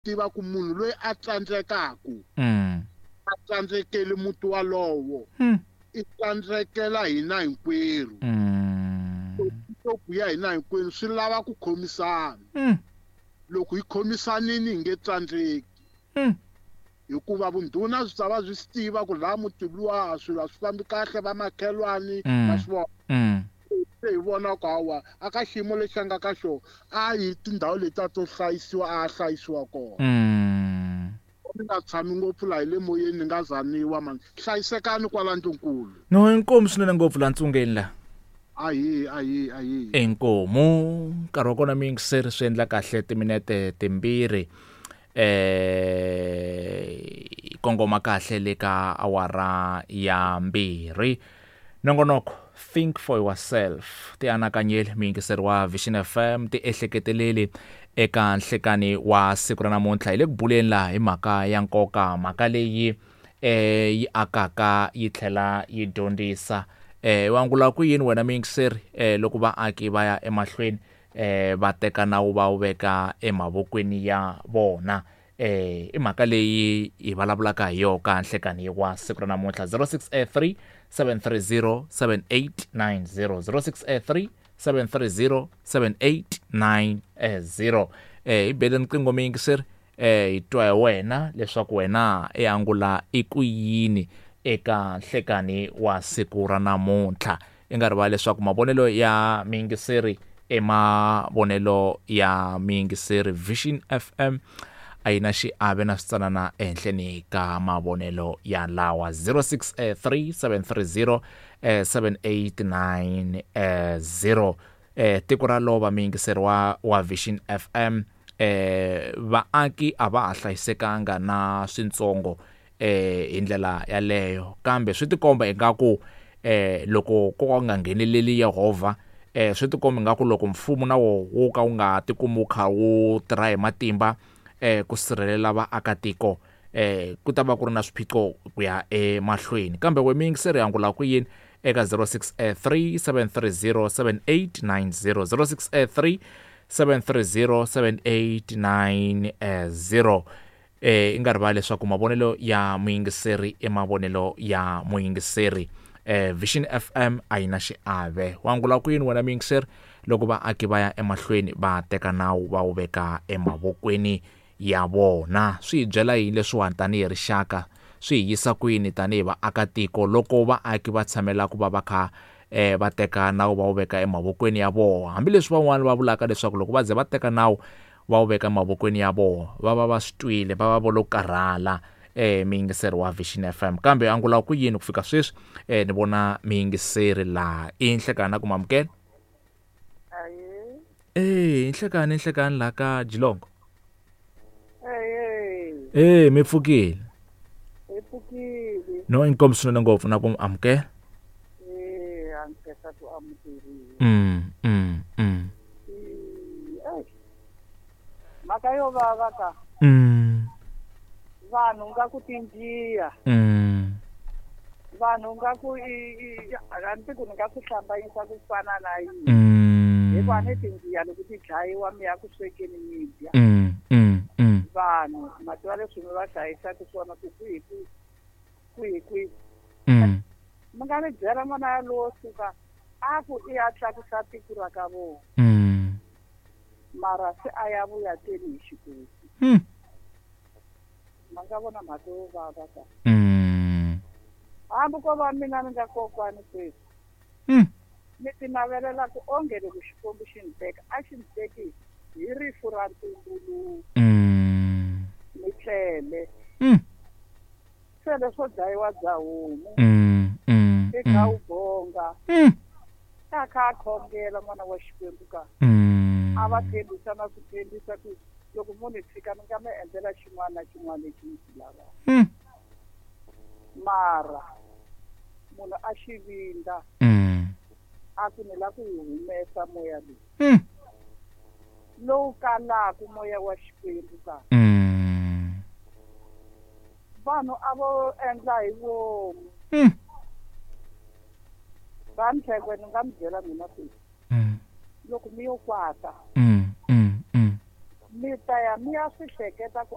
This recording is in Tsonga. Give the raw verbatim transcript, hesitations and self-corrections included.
Tiva ku munhu loyi a tsandzekaku Mm. a tsandzekeli muti walowo, Mm. i tsandzekela hina hinkwerhu. Mm. Ku ya hina hinkwenu swi lava ku khomisana. Mm. Loko hi khomisanini hi nge tsandzeki. Mm. Hikuva vundhuna byi ta va byi swi tiva ku laha muti luwa swilo a swi fambi kahle, vamakhelwani Mm. ma swi vona. Mm. Se hi vona ku hawa a ka xiyimo lexi a nga ka xona a hi tindhawu letiya to hlayisiwa a hlayisiwa kona. Mm. Ni nga tshami ngopfu laha hi le moyeni ni nga zaniwa mani, hlayisekani kwala ndlunkulu. No, inkomu swinene ngopfu la ntsungeni la. Ahi, ahi, ahi. Inkomu nkarhi wa kona mi yingiseri swi endla kahle timinete timbirhi eh kongoma kahle le ka awara ya mbirhi. Nongonoko Think for Yourself, ti anakanyeli muyingiseri wa Vision F M, ti ehleketeleli eka nhlekani wa siku ra namuntlha. Hi le ku buleni laha hi mhaka ya nkoka, mhaka leyi eh yi akaka yi tlhela yi dyondzisa. Eh wa angula ku yini wena muyingiseri eh loko vaaki va ya emahlweni eh va teka nawu va wu veka emavokweni ya vona? Eh i mhaka leyi hi vulavulaka hi yona ka nhlekani wa siku ra namuntlha. Zero six eight three seven three zero seven eight nine zero, zero six eight three seven three zero seven eight nine zero. Eh hi bele riqingho muyingiseri, eh hi twa hi wena leswaku wena i angula i ku yini eka nhlekani wa siku ra namuntlha. I nga rivali leswaku mavonelo ya muyingiseri i mavonelo ya muyingiseri. Vision F M a yi na xiave na switsanana ehenhleni ka mavonelo ya lawa. Zero six three seven three zero seven eight nine zero. Eh tiko ra lova muyingiseri wa, wa Vision F M, eh vaaki a va ha hlayisekanga na swintsongo eh hi ndlela yaleyo, kambe swi tikomba ingaku eh loko ko ka nga ngheneleli Yehovha, eh swi tikomba ingaku loko mfumo na wo wu ka wu nga tikumi wu kha wu tirha hi matimba eh ku sirhelela vaakatiko, eh ku ta va ku ri na swiphiqo ku ya emahlweni. Kambe we muyingiseri angula ku yini eka zero six three seven three zero seven eight nine zero, zero six three seven three zero seven eight nine zero. Eh i nga rivali leswaku mavonelo ya muyingiseri i mavonelo ya muyingiseri. Eh Vision F M a yi na xiave. Wa angula ku yini wena muyingiseri loko vaaki va ya emahlweni va teka nawu va wu veka emavokweni ya vona? Swi hi byela yini leswiwani tanihi rixaka? Swi hi yisa kwini tanihi vaakatiko loko vaaki va tshamela ku va va kha eh va teka nawu va wu veka emavokweni ya vona? Hambileswi van'wani va vulaka leswaku loko va ze va teka nawu va wu veka emavokweni ya vona va va va swi twile, va va vo lo karhala eh muyingiseri wa Vision F M. Kambe angula ku yini ku fika sweswi? Eh ni vona muyingiseri laha. I nhlekani na ku mamukela? Ahee. Eh nhlekani, nhlekani laha ka Jilongo. Ahee. Eh mi pfukile? Hi pfukile. No, inkomu swinene ngopfu na ku amukela. Eh a nkhensa ku amukeriwa. Mm, mm, mm. Eh, mhaka yo vava ka. Mm. Vanhu nga ku tinjiya. Mm. Vanhu nga ku i, i, a ni tiku ni nga swi hlambanyisa ku fana na yini. Mm. Hikuva ni tinjiya loko ti dlayiwa mi ya ku swekeni mi dya. Mm, mm, mm. Vanhu ma tiva leswi mi va hlayisaka swona ku kwihi, kwihi, kwihi, kwihi. Mm. Mi nga ni byela n'wana yalowo suka a ku i ya tlakusa tiko ra ka vona. Mm. Mara se a ya vuya teni hi xikosi. Mm. Ma nga vona mhaka yo vava ka. Mm. Hambi ko va mina ni nga kokwani sweswi. Mm. Ni ti navelela ku onge loko Xikwembu xi ni teka, a xi ni teki hi rifu ra ntumbuluko. Mm. Ni tlele. Mm. Se leswo dlayiwa bya homu. Mm, mm, I kha mm. u bonga. Mm. A kha a khongela n'wana wa Xikwembu ka. Mm. A va tshembisa na ku tshembisa ku loko munhu hi tshika ni nga mi endlela xin'wana na xin'wana lexi ni xi lavaka. Mm. Mara munhu a xi vindza. Mm. A ku ni lava ku wu humesa moya lowu. Mm. Lowu kalaka moya wa Xikwembu ka. Mm. Vanhu a vo endla hi vomu. Mm. Va Ntlhekwe ni nga mi byela mina sweswi. Mm. Loko mi yo kwata. Mm, mm, mm. Mi ta ya mi ya swi hleketa ku